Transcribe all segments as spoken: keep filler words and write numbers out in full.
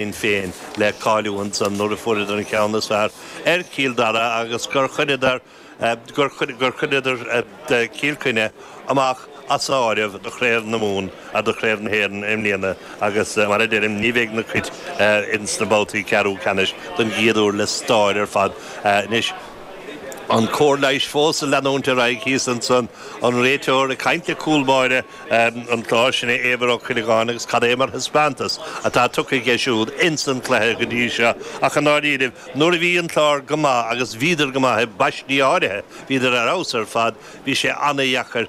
Féin le cáiliú ansan nuair a fuaireadar an ceann is fearr ar Chill Dara agus gur chuireadar gur chuireadar Cill Chainnigh amach as áireamh do Chraobh na Mumhan a do Chraobh na hÉireann i mbliana agus mar a deirim ní bheidh na Cait ins na babhtaí ceathrú ceannais don gcéad uair le stair ar fad anois. An cóir leighis fós ag leanúint ar aghaidh thíos ansan, an réiteoir ag caint le cúl báire an Chláir, sin é Éibhear Ó Cuileagáin agus cad é mar thaispeántas atá tugtha aige siúd ins an chluiche go dtí seo ach i ndáiríribh nuair a bhí an Clár go maith agus bhíodar go maith i bpaistí áirithe, bhíodar ar fheabhas ar fad, bhí sé an-dheacair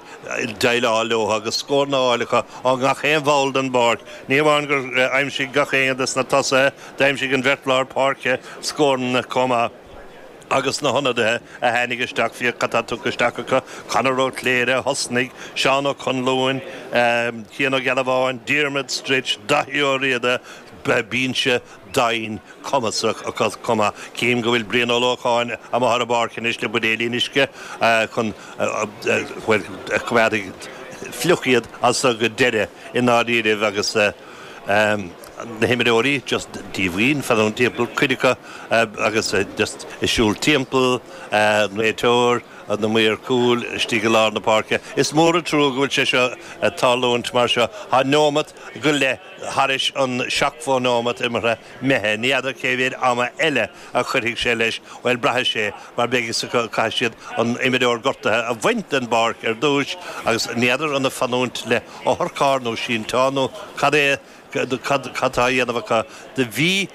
déileáil leo agus scóranna á fháil acu ó gach aon bhall den bpáirc. Ní hamháin gur aimsigh gach éinne des na tosaithe, d'aimsigh an bheirt lár páirce scóranna chomh maith. Agus na hionadaithe a tháinig isteach, féach cad tá tugtha isteach acu, Conor Ó Cléire a thosnaigh, Seán Ó Conluain, Cian Ó Gealbháin, Diarmuid Stritch, Daithí Ó Riada, binse doimhin cumasach acu chomh maith. Cím go bhfuil Brian Ó Lócháin amuigh ar an bpáirc anois le buidéilín uisce chun, bhuel, coimeádfaidh fliuch iad as so go deireadh i ndáiríribh agus. Na himreoirí just díomhaoin, fanúint timpeall, cuid acu agus just ag siúl timpeall, an réiteoir, na maoir cúil istigh i lár na páirce. Is mór an trua go bhfuil sé seo ag tarlúint mar seo. Tá neomat go leith thairis an seachtó nóimeat imeartha imithe. Ní fheadar cé mhéad ama eile a chuirfidh sé leis. Bhuel, braithfidh sé mar beidh fhios acu, caithfidh siad an imreoir gortaithe a bhaint den bpáirc ar dtúis agus ní fheadar an ag fanúint le otharcharr nó sínteán nó cad é Cad tá á dhéanamh acu? Do bhí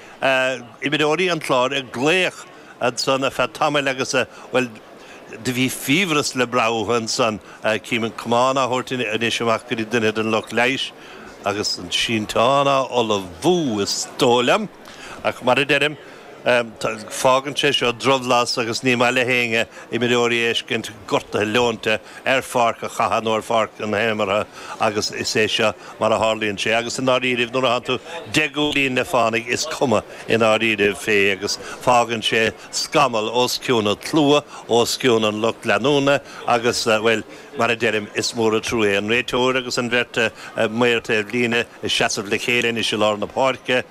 imreoirí an Chláir ag glaoch ansan ar feadh tamaill agus, bhuel, do bhí fiabhras le brath uathu ansan. Cím an camán á thabhairt anois amach go dtí duine den lucht leighis agus an sínteán á ullmhú, is dóigh liom. Ach mar a deirim, Fágann sé seo drabhlás agus ní maith le héinne imreoirí a fheiscint gortaithe leonta ar pháirc an chatha nó ar pháirc na himeartha agus is é seo mar a tharlaíonn sé. Agus i ndáiríribh nuair atánn tú deich gcúilín le fánaidh is cuma i ndáiríribh fé agus fágann sé scamall os cionn an tslua, os cionn an lucht leanúna agus, bhuel, mar a deirim, is mór an trua é. An réiteoir agus an bheirt maor taobhlíne ag seasamh le chéile anois i lár na páirce.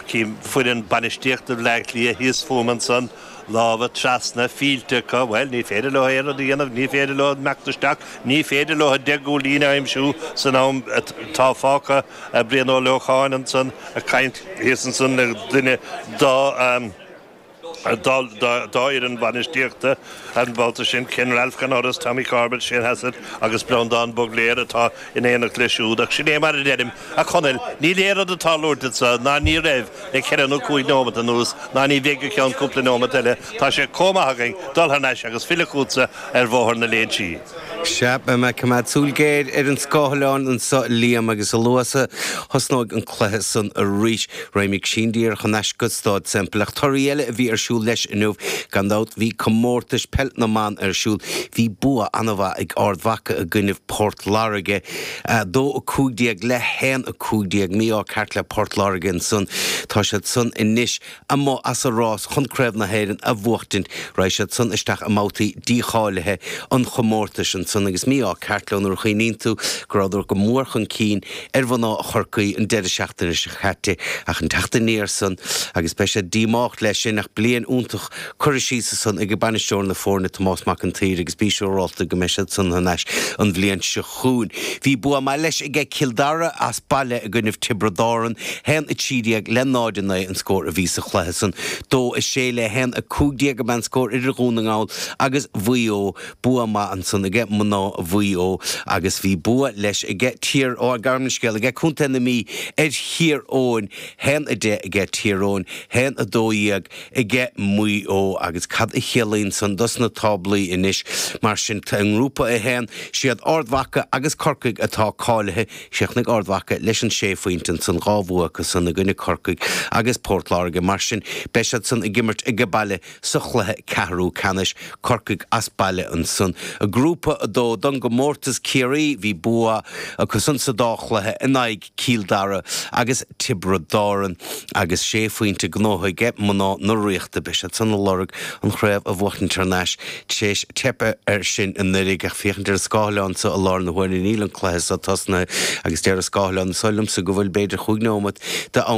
Cím foireann bainistíochta Bhleá Cliath thíos fúm ansan, lámha trasna, fillte acu. Bhuel, ní féidir leo aon rud a dhéanamh, ní féidir leo imeacht isteach, ní féidir leo deich gcúilín a aimsiú san am atá fágtha. Brian Ó Lócháin ansan ag caint thíos ansan le duine dá. dá fhoireann bainistíochta an babhta sin, Ken Ralph gan amhras, Tommy Corbett, Shane Hassett agus Breandán Bugler atá in éineacht leis siúd. Ach sin é mar a deirim, a Chonaill, níl aon rud ag tarlúint anso, ná ní raibh le ceithre nó cúig nóimeat anuas, ná ní bheidh go ceann cúpla nóimeat eile. Tá sé chomh maith againn dul thar n-ais agus filleadh chugatsa ar Bhóthar na Léinsí. Sea, beidh mé ag coimeád súil géar ar an scáileán anso, Liam, agus a luaithe is a thosnóidh an cluiche san arís, raghaimid sin díreach thar n-ais go Staid Semple. Ach torthaí eile a bhí ar siúl leis inniu, gan dabht, bhí comórtais peil na mban ar siúl. Bhí bua an-mhaith ag Ard Mhacha i gcoinnibh Port Láirge, dó a cúig déag le haon a cúig déag. Mí-ádh ceart le Port Láirge ansan. Tá siad san anois amuigh as an rás chun Craobh na hÉireann a bhuachtaint. Raghaidh siad san isteach i mbabhtaí dícháilithe an chomórtais ansan agus mí-ádh ceart leo nuair a chuimhníonn tú go rabhadar go mór chun cinn ar mhná Chorcaí an deireadh seachtaine seo caite ach an teacht aniar san agus beidh siad díomách leis sin ach bliain iontach curtha síos ansan ag bainisteoir na foirne Tomás Mac an tSaoir agus bí siúrálta go mbeidh siad san thar n-ais an bhliain seo chugainn. Bhí bua maith leis aige Cill Dara as baile i gcoinnibh Tiobraid Árann, haon a trí déag le náid a naoi an scór a bhí sa chluiche san. Dó a sé le haon a cúig déag ab ea an scór idir Dhún na nGall agus Mhaigh Eo. Bua maith ansan aige mná Mhaigh Eo agus bhí bua leis aige Tír, ó gabh mo leithscéal, aige Contae na Mí ar Thír Eoghain, haon a deich aige Tír Eoghain, haon a dó dhéag aige Maigh Eo agus cad a chiallaíonn san dos na táblaí anois? Mar sin, i nGrúpa a haon, siad Ard Mhacha agus Corcaigh atá cáilithe. Chríochnaigh Ard Mhacha leis an sé phointe ansan, dhá bhua acu san i gcoinne Corcaigh agus Port Láirge. Mar sin, beidh siad san ag imirt age baile sa chluiche ceathrú ceannais, Corcaigh as baile ansan. I nGrúpa a dó don gcomórtas Ciarraí bhí bua acusan sa dá chluiche in aghaidh Chill Dara agus Tiobraid Árann agus sé phointe gnóthaithe ag mná na Ríochta beidh siad san ag lorg an chraobh a bhuachaint thar n-ais tar éis teipe air sin anuraidh ach féachaint ar an scáileán seo i láthair na huaire níl an cluiche seo tosnaithe agus deir an scáileán seo liomsa go bhfuil b'fhéidir chúig nóiméad de am